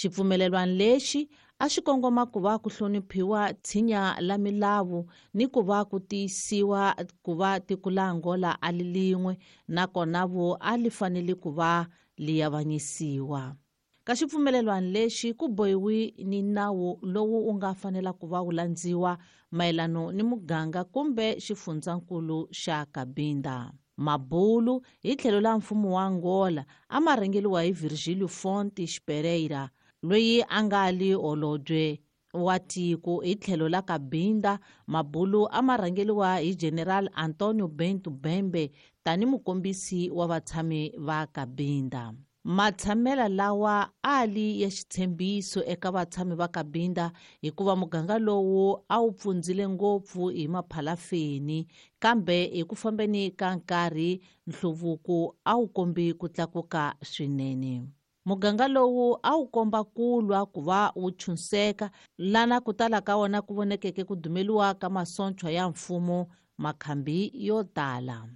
Xipfumelelwano lexi a xi kongoma ku va ku hloniphiwa tshinya la milawu ni ku va ku tiyisiwa ku va tiko la Angola a li lin'we, nakona vo a li fanele ku va li avanyisiwa. Ka xipfumelelwano lexi ku bohiwi ni nawu lowu wu nga fanela ku va wu landziwa mayelano ni muganga kumbe xifundzankulu xa Cabinda. Mabulu hi tlhelo la mfumo wa Angola a ma rhangeriwa hi Virgílio Fontes Pereira, loyi a nga li holobye wa tiko. Hi tlhelo la Cabinda, mabulu a ma rhangeriwa hi General Antonio Bento Bembe tani mukombisi wa vatshami va Cabinda. Matshamela lawa a li ya xitshembiso eka vatshami va Cabinda, hikuva muganga lowu a wu pfundzile ngopfu hi maphalafeni, kambe hi ku fambeni ka nkarhi nhluvuko a wu kombi ku tlakuka swinene. Muganga lowu a wu komba ku lwa ku va wu chunseka, lana ku tala ka wona ku vonekeke ku dumeliwa ka masontshwa ya mfumo makhambi yo tala.